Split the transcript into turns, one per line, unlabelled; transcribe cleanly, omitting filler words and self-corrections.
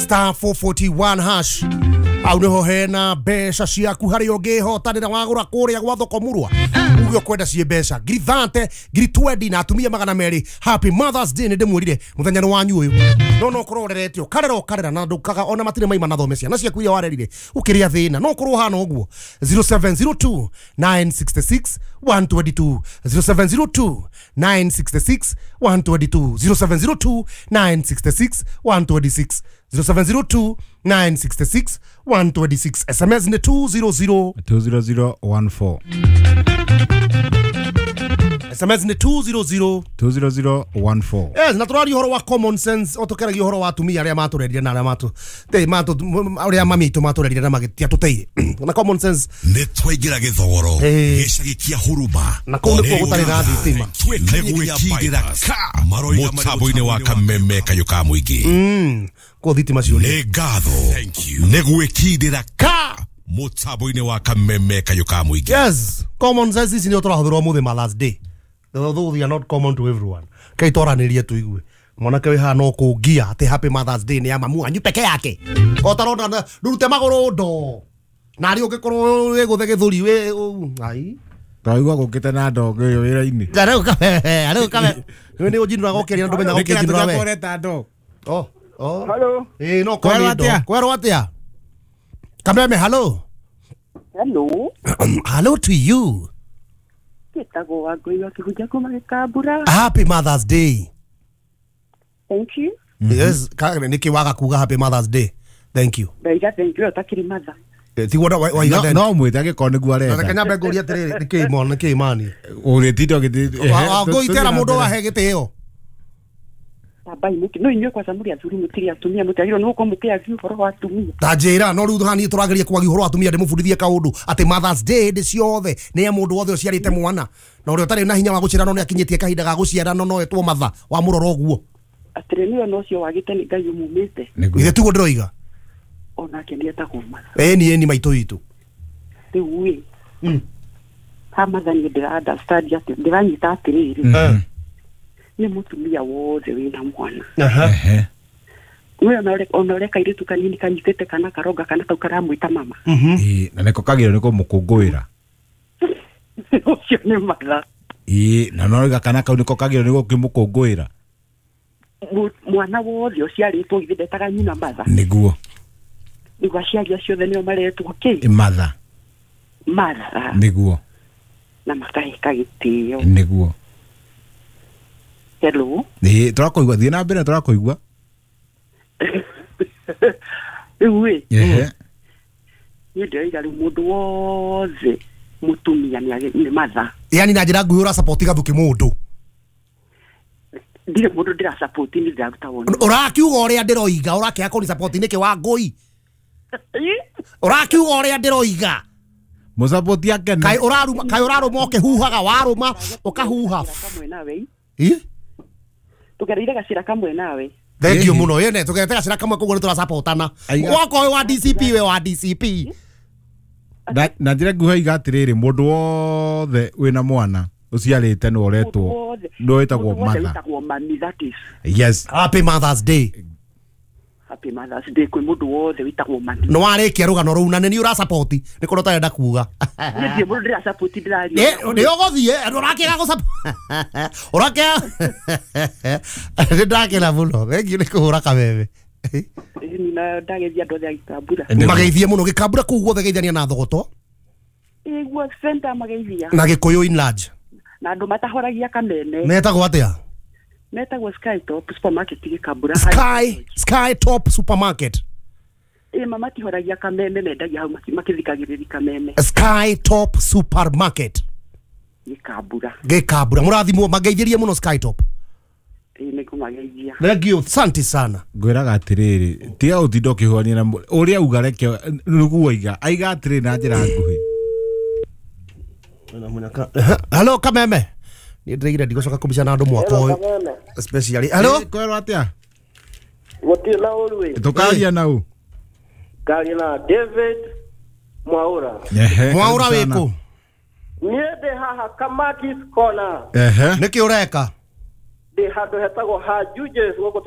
Star 441 hash au niho hena mbeca ciaku harĩa ũngĩhotanĩra wagũra kũrĩa gwa thoko murwa uge ũkwenda ciĩ mbeca ngiri 30 ngiri 20 na atumia 200. Happy Mother's Day nĩ ndĩmwĩrire mũthenya nĩ wanyu ũyũ no no ũkorwo ũrerete ũkarera ũkarera na ndũkaga ona matirĩ maima na thome ciana ciaku iria warerire ũkĩrĩa thĩna no ũkorwo ũhana ũguo. 0702 966 122 0702 966 122 0702 966 126 0702 966 126. SMS ni 200
20014.
SMS ni 200
20014.
Yes, na tũraria ũhoro wa common sense ũtũkeragia ũhoro wa atumia arĩa matũrerire na arĩa matũ te matũ arĩa mami itũ matũrerire na magĩtiatũteire na common sense
nĩ twaingĩra gĩthogoro gĩcagi kĩa huruma
na kũu nĩkuo gũtarĩ na thitima
nĩ gwĩkindĩra ka mũtambo-inĩ wa kameme kayũ ka mũingĩ
kũu thitima ciũrĩte.
Nĩ ngatho nĩ gwĩkindĩra ka mũtambo-inĩ wa kameme kayũ ka mũingĩ.
Yes, common sense ici nĩ tũrahũthĩrwo mũthĩ Mother's Day, although they are not common to everyone. Kai twaranĩrie tuigue mwanake wĩ haha no kũngia atĩ Happy Mother's Day nĩ ya mamu wanyu peke yake otarona ndurute magũrũ ndo na arĩ ũngĩkorwo wĩ gũthe gĩthũri wĩ ai
Twaigua gũkĩte na ndongo ĩyo wĩra-inĩ.
Arĩu kabe arĩu kabe nĩ ũnjinũraga ũkĩaria na ndũmenyaga ũkĩnjinũra we.
Ũreta ndo.
Oh oh
hello.
No kwero atĩa kwero atĩa Kameme. Hello
hello
hello to you.
Gĩtagwo Wangũi wa Kĩhunja kuma Gĩkambura.
Happy Mother's Day.
Thank you.
Yes, nĩkĩ waga kuga Happy Mother's Day? Thank you.
Ndaiga thank you ũtakĩrĩ mother.
Tiguo waiga then.
No mwĩte angĩkorwo nĩguo arenda.
Reke nyambe ngũrie atĩrĩrĩ nĩkĩ mwana nĩkĩ mani
ũrĩtinda ũgĩthi
Wangũi tera mũndũ wahe gĩtĩo.
Tambai mũki no inyuĩ kwanza mũrĩ athuri mũtirĩ atumia mũtiagĩrĩirwo nĩ gũkorwo mũkĩaria ũhoro wa atumia.
Ta njĩra no rĩu haha niĩ tũrageria kwaria ũhoro wa atumia ndĩmũbundithie kaũndũ atĩ Mother's Day hĩndĩ ciothe nĩ ya mũndũ wothe ũciarĩte mwana na ũrĩa ũtarĩ na hinya wa gũciara no nĩ akinyĩtie kahinda ga gũciara no no etwo mother wamũrora ũguo.
Atĩrĩ nĩwe na ũcio wagĩte nĩ Ngai ũmumĩte.
Ithe tiguo ndĩroiga
onake nĩ etagwo mother.
Ĩni ĩni maitũ witũ.
Rĩu ĩ ha mother niĩ ndĩra understand atĩ ndĩranyita atĩrĩrĩ nĩ mũtumia wothe wĩna mwana. We ona ũrĩa kairĩtu kanini kanyitĩte kana karonga kana kau karamwĩta mama.
Ĩĩ na nĩko kagĩrĩirwo nĩ kũmũkũngũĩra.
Ũcio nĩ mother.
Ĩĩ na no kana kau nĩko kagĩrĩirwo nĩ gũkĩmũkũngũĩra.
Mwana wothe ũciarĩtwo githĩ ndetaga nyina mother.
Nĩguo.
Nĩguo aciari acio othe nĩo maretwo kĩ?
Mother.
Mother.
Nĩguo.
Na makaheka gĩtĩo.
Nĩguo.
Hello.
Ĩĩ tũrakũigua thiĩ na mbere tũrakũigua.
Rĩu ĩ niĩ ndĩroiga rĩu mũndũ wothe mũtumia nĩ mother.
Yani na njĩra nguhĩ ũrasupport gathuki mũndũ.
Ndirĩ mũndũ ndĩrasupport nĩ ndĩraruta woni.
Ũrakiuga ũrĩa ndĩroiga ũrakĩaga kũni support nĩkĩ Wangũi? Ũrakiuga ũrĩa ndĩroiga.
Mũsupport akene.
Kaĩ ũraruma kaĩ ũrarũma ũkĩhuhaga warũma ũkahuha. Ĩ
Tũgereire gacĩra kamwe nawe.
Thank you mũno yene tũgerete gacĩra kamwe koguo nĩ tũrasupportana. Wakorwo wĩ wa DCP we wa DCP.
Na njĩra nguhĩ iga atĩrĩrĩ mũndũ wothe wĩna mwana ũciarĩte nĩ ũretwo nĩ wĩtagwo mother. Yes.
Happy Mother's Day.
Happy Mother's Day kwĩ mũndũ wothe wĩtagwo mami.
Nĩ warĩkia rũgano rũu na nĩ niĩ ũrasupport nĩ korwo ũtarenda kuga.
Niĩ ndirĩ mũndũ ndĩrasupport ndĩraria.
Nĩ ũgũthiĩ ũrakĩaga gũsupport ũrakĩaga nĩ ndakena mũno thengiũ nĩ kũhũra kameme.
Na ndageithia andũ othe a Gĩkambura.
Mageithie mũno Gĩkambura kũu guothe geithania na Thogoto.
Ĩguo center mageithia.
Na Gĩkũyũ in large.
Na andũ matahoragia kameme.
Metagwo atĩa?
Metagwo Sky Top Supermarket Gĩkambura.
Sky Top Supermarket.
Ĩ mama tihoragia kameme mendagia hau makĩthikagĩrĩria kameme.
Sky Top Supermarket
Gĩkambura.
Gĩkambura mũrathimwo mageithĩrie mũno Sky Top.
Ĩ nĩngũmageithia.
Thank you asante sana.
Ngwĩraga atĩrĩrĩ tiga ũtinda ũkĩhũania na ũrĩa auga reke nĩguo aiga aiga atĩrĩrĩ na njĩra nguhĩ.
Hello Kameme. Niĩ ndĩraigire ndigũcoka kũmbica na andũ mwaka ũyũ especially. Hello.
Kwĩrwo atĩa?
Gũtirĩ na ũru ĩ.
Tũkaria na ũ?
Ngaria na David Mwaura.
Mwaura wĩkũ?
Niĩ ndĩ haha Kamaki's Corner.
Nĩkĩ ũreka?
Ndĩ handũ hetagwo ha Jujes gũkũ.